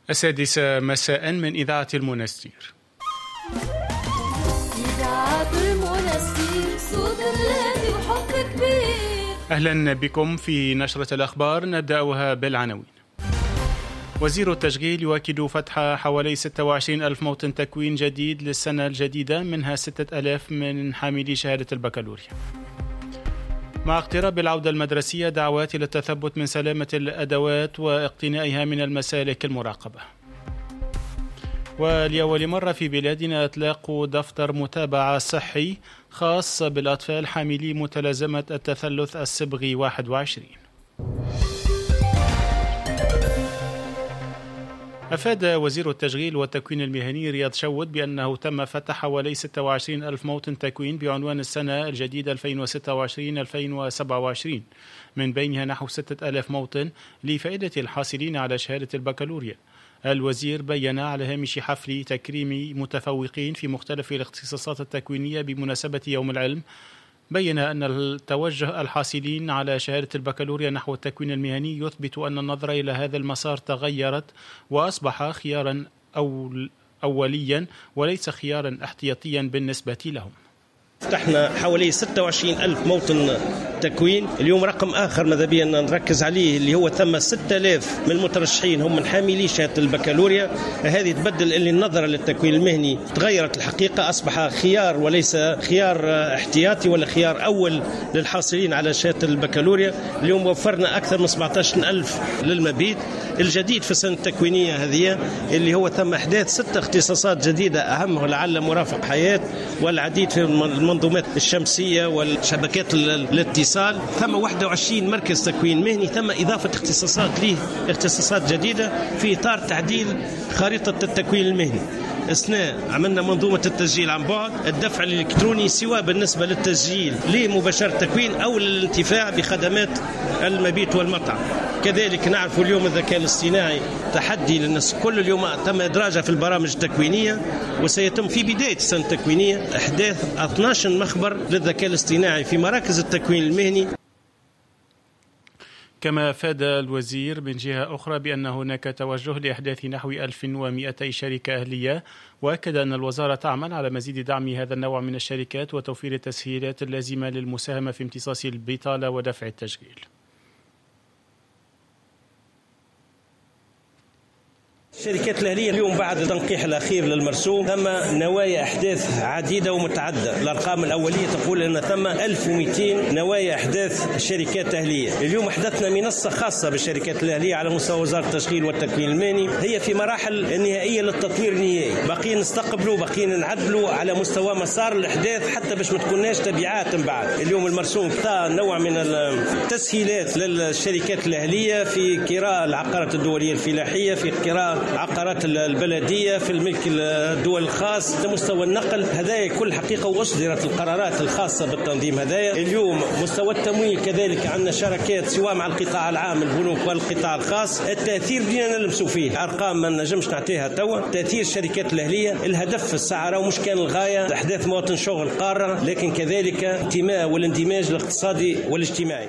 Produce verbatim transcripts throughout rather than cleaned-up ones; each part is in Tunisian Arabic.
السادسة مساء من إذاعة المنستير. إذاعة المنستير، صوت بلادي وحب كبير. أهلا بكم في نشرة الأخبار، نبدأها بالعناوين. وزير التشغيل يؤكد فتح حوالي ستة وعشرين ألف موطن تكوين جديد للسنة الجديدة، منها ستة آلاف من حاملي شهادة البكالوريا. مع اقتراب العودة المدرسية، دعوات إلى التثبت من سلامة الأدوات واقتنائها من المسالك المراقبة. ولأول مرة في بلادنا إطلاق دفتر متابعة صحي خاص بالأطفال حاملي متلازمة التثلث الصبغي واحد وعشرين. أفاد وزير التشغيل والتكوين المهني رياض شود بأنه تم فتح حوالي ستة وعشرين ألف موطن تكوين بعنوان السنة الجديدة ألفين وستة وعشرين ألفين وسبعة وعشرين، من بينها نحو ستة آلاف موطن لفائدة الحاصلين على شهادة البكالوريا. الوزير بيّن على هامش حفل تكريم متفوقين في مختلف الاختصاصات التكوينية بمناسبة يوم العلم، بيّن أن التوجه الحاصلين على شهادة البكالوريا نحو التكوين المهني يثبت أن النظرة إلى هذا المسار تغيرت وأصبح خيارا أوليا وليس خيارا احتياطيا بالنسبة لهم. فتحنا حوالي ستة وعشرين ألف موطن تكوين. اليوم رقم آخر ماذا بينا نركز عليه اللي هو ثم ستة آلاف من المترشحين هم من حاملي شهادة البكالوريا. هذه تبدل اللي النظرة للتكوين المهني تغيرت الحقيقة، أصبح خيار وليس خيار احتياطي ولا خيار أول للحاصلين على شهادة البكالوريا. اليوم وفرنا أكثر من سبعة عشر ألف للمبيت. الجديد في السنة التكوينية هذه اللي هو ثم إحداث ست اختصاصات جديدة، أهمها لعل مرافق حياة والعديد في المنظومات الشمسية والشبكات الاتصال. ثم واحد وعشرين مركز تكوين مهني، ثم إضافة اختصاصات ليه، اختصاصات جديدة في إطار تعديل خريطة التكوين المهني. أثناء عملنا منظومة التسجيل عن بعد، الدفع الإلكتروني سواء بالنسبة للتسجيل لمباشرة التكوين أو للانتفاع بخدمات المبيت والمطعم. كذلك نعرف اليوم الذكاء الاصطناعي تحدي للناس كل، اليوم تم إدراجها في البرامج التكوينية، وسيتم في بداية السنة التكوينية إحداث اثني عشر مخبر للذكاء الاصطناعي في مراكز التكوين المهني. كما أفاد الوزير من جهة أخرى بأن هناك توجه لإحداث نحو ألف ومئتي شركة أهلية، وأكد أن الوزارة تعمل على مزيد دعم هذا النوع من الشركات وتوفير التسهيلات اللازمة للمساهمة في امتصاص البطالة ودفع التشغيل. الشركات الأهلية اليوم بعد التنقيح الأخير للمرسوم ثم نوايا أحداث عديدة ومتعددة. الأرقام الأولية تقول أن ثم ألف ومئتين نوايا أحداث شركات أهلية. اليوم أحدثنا منصة خاصة بالشركات الأهلية على مستوى وزارة التشغيل والتكوين المهني، هي في مراحل النهائية للتطوير النهائي، باقيين نستقبلوا باقيين نعدلوا على مستوى مسار الأحداث حتى باش ما تكوناش تبعات من بعد. اليوم المرسوم نوع من التسهيلات للشركات الأهلية في كراء العقارات الدولية الفلاحية، في كراء عقارات البلدية، في الملك الدول الخاص، مستوى النقل، هذايا كل حقيقة. وأصدرت القرارات الخاصة بالتنظيم هذايا. اليوم مستوى التمويل كذلك عندنا شراكات سواء مع القطاع العام البنوك والقطاع الخاص. التأثير بدينا نلمسوا فيه، أرقام ما نجمش نعطيها توا. تأثير الشركات الأهلية، الهدف في الساعة مش كان الغاية أحداث مواطن شغل قارة، لكن كذلك انتماء والاندماج الاقتصادي والاجتماعي.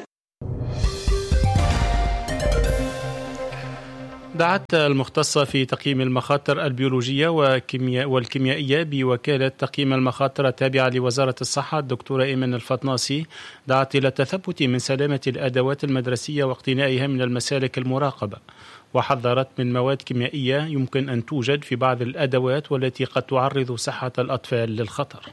دعت المختصة في تقييم المخاطر البيولوجية والكيميائية بوكالة تقييم المخاطر التابعة لوزارة الصحة الدكتورة إيمان الفطناسي، دعت إلى التثبت من سلامة الأدوات المدرسية واقتنائها من المسالك المراقبة، وحذرت من مواد كيميائية يمكن أن توجد في بعض الأدوات والتي قد تعرض صحة الأطفال للخطر.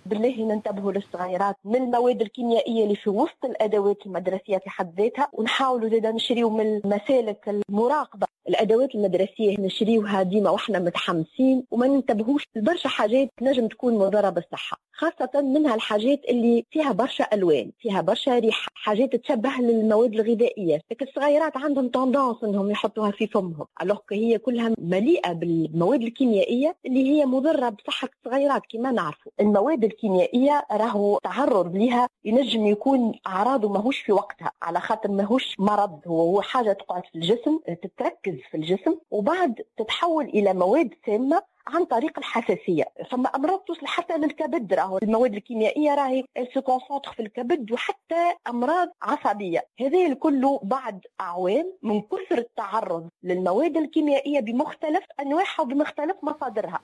بالله ننتبهوا للصغيرات من المواد الكيميائية اللي في وسط الأدوات المدرسية في حد ذاتها، ونحاولوا زادا نشريو من المسالك المراقبة. الأدوات المدرسية نشريوها ديما واحنا متحمسين وما ننتبهوش لبرشا حاجات نجم تكون مضرة بالصحة، خاصة منها الحاجات اللي فيها برشا ألوان، فيها برشا ريحة، حاجات تشبه للمواد الغذائية. لكن الصغيرات عندهم tendance انهم يحطوها في فمهم، alors هي كلها مليئة بالمواد الكيميائية اللي هي مضرة بصحة الصغيرات. كما نعرفوا المواد الكيميائية راهو تعرض لها ينجم يكون أعراضه ماهوش في وقتها، على خاطر ماهوش مرض، هو حاجة تقعد في الجسم، تتركز في الجسم وبعد تتحول إلى مواد سامة عن طريق الحساسية. فما أمراض توصل حتى للكبد، راهو المواد الكيميائية راهي se concentre في الكبد، وحتى أمراض عصبية. هذا الكل بعد أعوام من كثر التعرض للمواد الكيميائية بمختلف أنواعها وبمختلف مصادرها.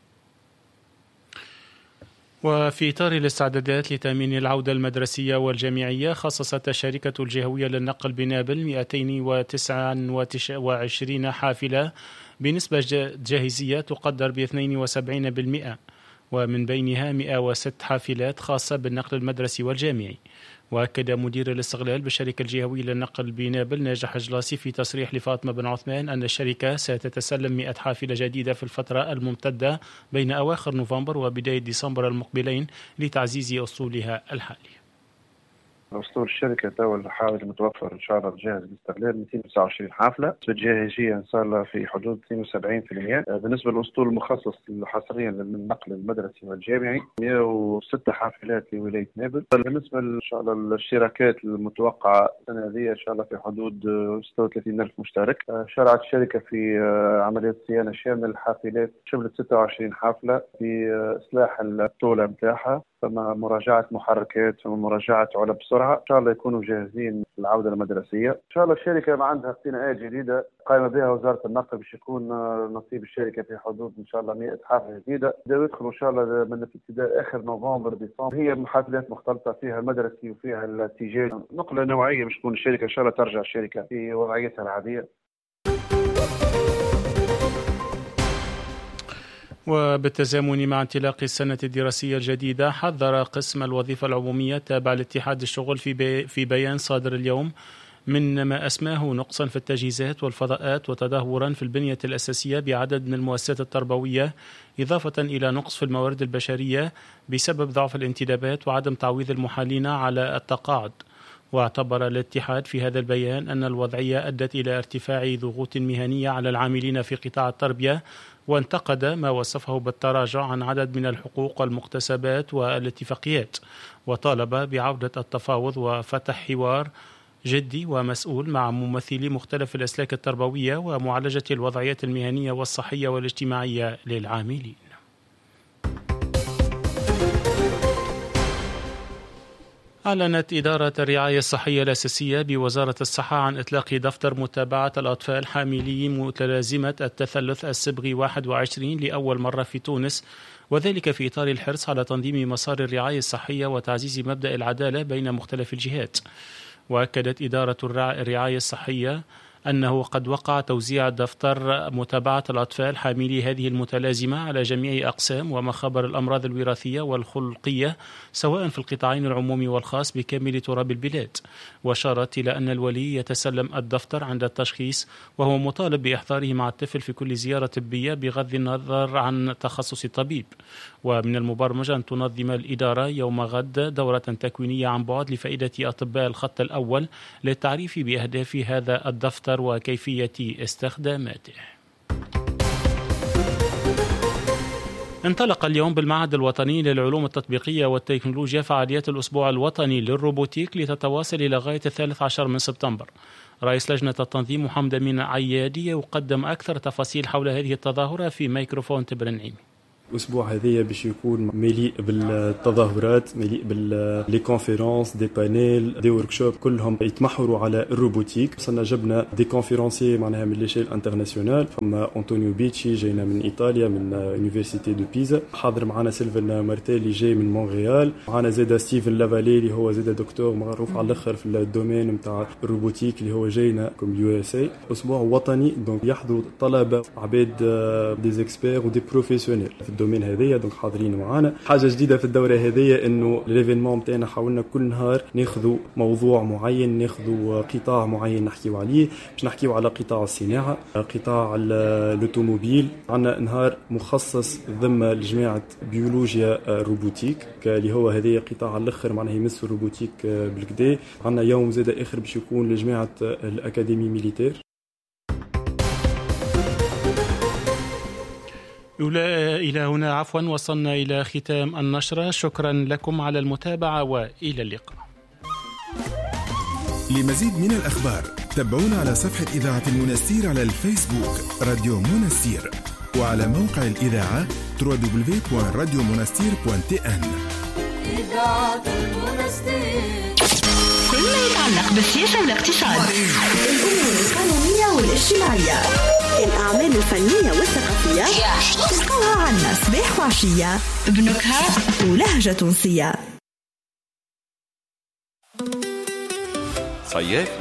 وفي إطار الاستعدادات لتأمين العودة المدرسية والجامعية، خصصت الشركة الجهوية للنقل بنابل مئتين وتسعة وعشرين حافلة بنسبة جاهزية تقدر ب اثنين وسبعين بالمئة، ومن بينها مئة وست حافلات خاصة بالنقل المدرسي والجامعي. وأكد مدير الاستغلال بالشركة الجهوية للنقل بنابل ناجح جلاسي في تصريح لفاطمة بن عثمان أن الشركة ستتسلم مئة حافلة جديدة في الفترة الممتدة بين أواخر نوفمبر وبداية ديسمبر المقبلين لتعزيز أصولها الحالية. أسطول الشركة تو الحالي المتوفر إن شاء الله الجاهز للاستغلال مئتين وتسعة وعشرين حافلة، الجاهزية إن شاء الله في حدود اثنين وسبعين بالمئة. بالنسبة للأسطول المخصص حصريا للنقل المدرسي والجامعي مئة وستة حافلات لولاية نابل. بالنسبة إن شاء الله للاشتراكات المتوقعة السنة هذه إن شاء الله في حدود ستة وثلاثين ألف مشترك. شرعت الشركة في عملية صيانة شاملة للحافلات، شملت ستة وعشرين حافلة في إصلاح الطولة متاعها، فما مراجعة محركات، فما مراجعة علب سرعة. إن شاء الله يكونوا جاهزين للعودة المدرسية. إن شاء الله الشركة ما عندها اقتناءات جديدة قائمة بها وزارة النقل باش يكون نصيب الشركة في حدود إن شاء الله مئة حافلة جديدة يدخلوا إن شاء الله من ابتداء آخر نوفمبر ديسمبر. هي حافلات مختلطة فيها المدرسي وفيها التجاري، نقلة نوعية باش تكون الشركة إن شاء الله ترجع الشركة في وضعيتها العادية. وبالتزامن مع انطلاق السنة الدراسية الجديدة، حذر قسم الوظيفة العمومية تابع لاتحاد الشغل في, بي في بيان صادر اليوم من ما أسماه نقصا في التجهيزات والفضاءات وتدهورا في البنية الأساسية بعدد من المؤسسات التربوية، إضافة إلى نقص في الموارد البشرية بسبب ضعف الانتدابات وعدم تعويض المحالين على التقاعد. واعتبر الاتحاد في هذا البيان أن الوضعية أدت إلى ارتفاع ضغوط مهنية على العاملين في قطاع التربية، وانتقد ما وصفه بالتراجع عن عدد من الحقوق والمكتسبات والاتفاقيات، وطالب بعودة التفاوض وفتح حوار جدي ومسؤول مع ممثلي مختلف الأسلاك التربوية ومعالجة الوضعيات المهنية والصحية والاجتماعية للعاملين. أعلنت إدارة الرعاية الصحية الأساسية بوزارة الصحة عن إطلاق دفتر متابعة الأطفال حاملي متلازمة التثلث الصبغي واحد وعشرين لأول مرة في تونس، وذلك في إطار الحرص على تنظيم مسار الرعاية الصحية وتعزيز مبدأ العدالة بين مختلف الجهات. وأكدت إدارة الرعاية الصحية أنه قد وقع توزيع دفتر متابعة الأطفال حاملي هذه المتلازمة على جميع أقسام ومخابر الأمراض الوراثية والخلقية سواء في القطاعين العمومي والخاص بكامل تراب البلاد. وأشارت إلى أن الولي يتسلم الدفتر عند التشخيص، وهو مطالب بإحضاره مع الطفل في كل زيارة طبية بغض النظر عن تخصص الطبيب. ومن المبرمج أن تنظم الإدارة يوم غد دورة تكوينية عن بعد لفائدة أطباء الخط الأول للتعريف بأهداف هذا الدفتر وكيفية استخداماته. انطلق اليوم بالمعهد الوطني للعلوم التطبيقية والتكنولوجيا فعاليات الأسبوع الوطني للروبوتيك لتتواصل إلى غاية الثالث عشر من سبتمبر. رئيس لجنة التنظيم محمد أمين عيادي يقدم أكثر تفاصيل حول هذه التظاهرة في ميكروفون تبرنعيمي. الأسبوع هذايا باش يكون مليء بالتظاهرات، مليء بال les conférences، des panels، des workshops، كلهم يتمحوروا على ال robotique. وصلنا جبنا des conférenciers معناها من l'échelle internationale، فما أنطونيو بيتشي جاينا من إيطاليا من université de Pisa، حاضر معنا سيلفن مارتيلي جاي من مونريال، معنا زادا ستيفن لافالي اللي هو زادا دكتور معروف على الاخر في ال domaine نتاع ال robotique اللي هو جاينا comme USA. اسبوع وطني donc يحضروا طلبه عباد des experts و des professionnels في ال domaine هذايا، donc حاضرين معانا. حاجة جديدة في الدورة هذيا انه l'événement نتاعنا حاولنا كل نهار ناخذوا موضوع معين، ناخذوا قطاع معين نحكيو عليه، باش نحكيو على قطاع الصناعة، قطاع l'automobile. عندنا نهار مخصص ذمه لجماعة بيولوجيا robotique اللي هو هذايا قطاع على الاخر معناها يمس ال robotique بالكدا. عندنا يوم زاد اخر باش يكون لجماعة l'académie militaire. إلى هنا عفوا وصلنا إلى ختام النشرة. شكرا لكم على المتابعة وإلى اللقاء. لمزيد من الأخبار تابعونا على صفحة إذاعة المنستير على الفيسبوك راديو منستير. وعلى موقع الإذاعة دبليو دبليو دبليو دوت راديو منستير دوت تي إن. إذاعة المنستير، كل ما يتعلق بالسياسة والاقتصاد، الأمور القانونية والاجتماعية، الأعمال الفنية والثقافية، تلقاها عنا صباح وعشية بنكهة ولهجة تونسية. صيافي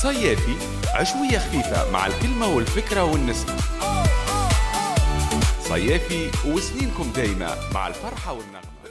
صيافي عشوية خفيفة مع الكلمة والفكرة والنسمة. صيافي وسنينكم دايمة مع الفرحة والنغمة.